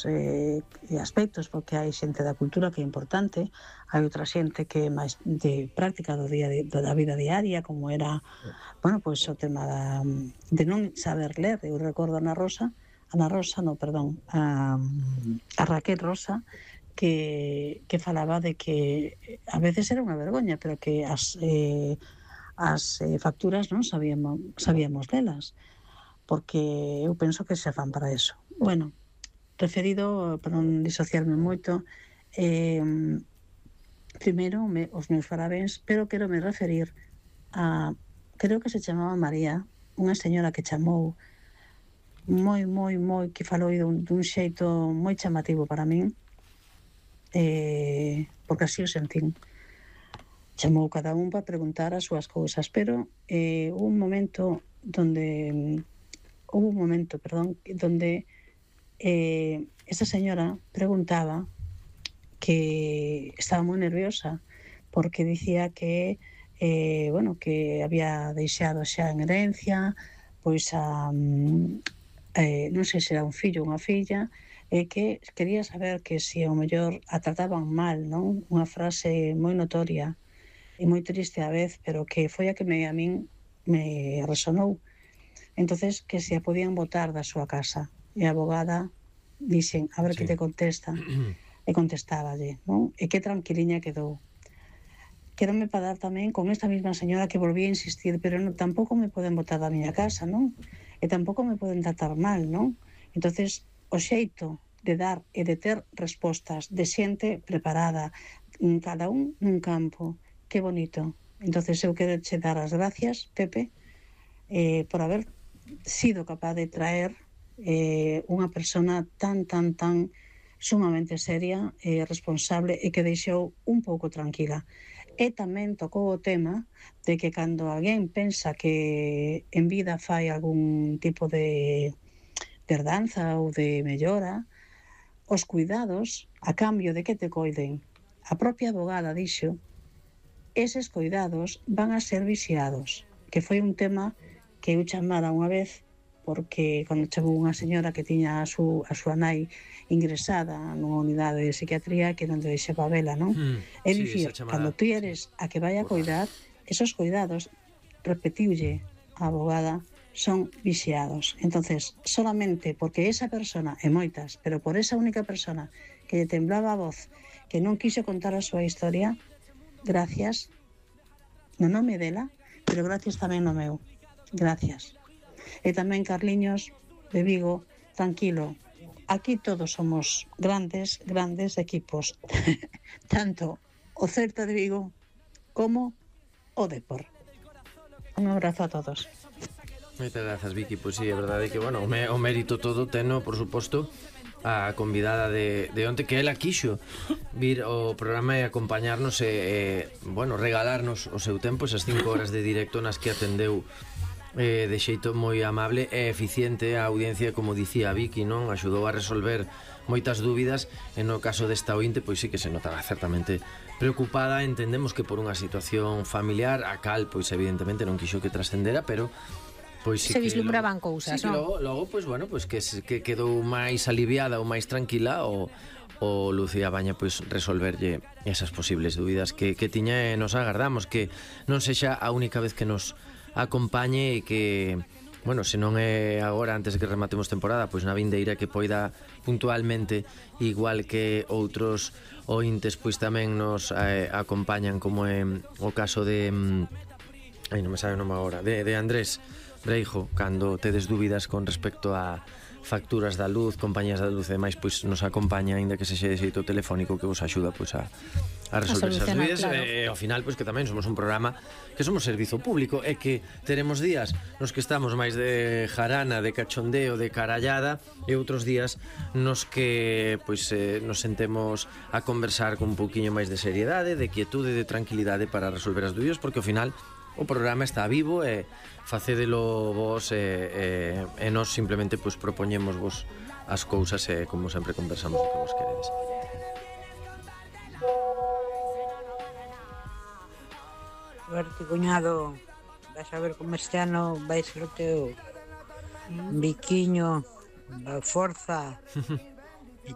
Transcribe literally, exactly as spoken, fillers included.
eh, aspectos, porque hai xente da cultura que é importante, hai outra xente que é máis de práctica do día de, da vida diaria, como era, bueno, pois o tema da, de non saber ler. Eu recordo a Ana Rosa, Ana Rosa, no, perdón, a, a Raquel Rosa, que, que falaba de que a veces era unha vergoña, pero que as, eh, as eh, facturas non sabíamos, sabíamos delas, porque eu penso que se fan para eso. Bueno, referido, para non disociarme moito, eh, primeiro me, os meus parabéns, pero quero me referir a, creo que se chamaba María, unha señora que chamou moi, moi, moi, que falou dun, dun xeito moi chamativo para min, eh, porque así o sentín. Chamou cada un para preguntar as súas cousas, pero eh, un momento donde, houve un momento, perdón, donde eh, esa señora preguntaba, que estaba moi nerviosa, porque dicía que eh, bueno, que había deixado xa en herencia pois a eh, non sei se era un fillo ou unha filla, e eh, que quería saber que se ao mellor a trataban mal, non? Unha frase moi notoria e moi triste á vez, pero que foi a que me, a min me resonou. Entonces, que se a podían botar da súa casa, e a abogada dixen, a ver sí. que te contesta, e contestáballe, non? E que tranquiliña quedou. Quérome para dar tamén con esta mesma señora que volvía a insistir, pero non, tampouco me poden botar da miña casa, non? E tampouco me poden tratar mal, non? Entonces, o xeito de dar e de ter respostas de xente preparada, cada un nun campo, que bonito. Entonces, eu quero che dar as gracias, Pepe, eh, por haber sido capaz de traer eh, unha persona tan, tan, tan sumamente seria e responsable e que deixou un pouco tranquila. E tamén tocou o tema de que cando alguén pensa que en vida fai algún tipo de herdanza ou de mellora, os cuidados, a cambio de que te coiden, a propia abogada dixo, eses cuidados van a ser vixiados, que foi un tema que eu chamara unha vez, porque cando chegou unha señora que tiña a, su, a súa nai ingresada nunha unidade de psiquiatría que non te deixaba vela, non? Mm, é sí, dicir, cando tú eres a que vai a cuidar, esos cuidados, repetiulle a abogada, son vixiados. Entonces, solamente porque esa persona, e moitas, pero por esa única persona que lle temblaba a voz, que non quiso contar a súa historia, gracias, no nome dela, pero gracias tamén no meu. Gracias. E tamén, Carliños, de Vigo, tranquilo, aquí todos somos grandes, grandes equipos, tanto o Celta de Vigo como o Depor. Un abrazo a todos. Moitas grazas, Vicky. Pois sí, é verdade que, bueno, o, o mérito todo teno, por suposto, a convidada de, de onte, que ela quixo vir ao programa e acompañarnos e, e, bueno, regalarnos o seu tempo, esas cinco horas de directo nas que atendeu eh, de xeito moi amable e eficiente a audiencia, como dicía Vicky, non? Axudou a resolver moitas dúbidas e no caso desta ointe, pois sí que se notaba certamente preocupada. Entendemos que por unha situación familiar a cal, pois evidentemente non quixo que trascendera, pero pois sí se vislumbraban cousas, sí, non? Logo, logo, pois bueno, pois que, que quedou máis aliviada ou máis tranquila o, o Lucía Baña pois resolverlle esas posibles dúbidas que, que tiña, e nos agardamos que non sexa a única vez que nos acompañe e que, bueno, se non é agora antes de que rematemos temporada, pois na vindeira que poida puntualmente, igual que outros ointes, pois tamén nos eh, acompañan, como é o caso de ai, non me sabe o nome agora, de, de Andrés Breijo, cando tedes dúbidas con respecto a facturas da luz, compañías da luz e demais, pois nos acompaña, aínda que sexa de xeito telefónico, que vos axuda pois a, a resolver esas dúbidas, claro. E ao final, pois que tamén somos un programa que somos servizo público e que teremos días nos que estamos máis de jarana, de cachondeo, de carallada, e outros días nos que pois eh, nos sentemos a conversar con un pouquiño máis de seriedade, de quietude, de tranquilidade para resolver as dúbidas, porque ao final o programa está vivo e facédelo vos e, e, e nós simplemente pues, propoñemos vos as cousas e como sempre conversamos o que vos queredes. Suerte, cuñado. Vas a ver como este ano vai ser o teu biquiño, a forza.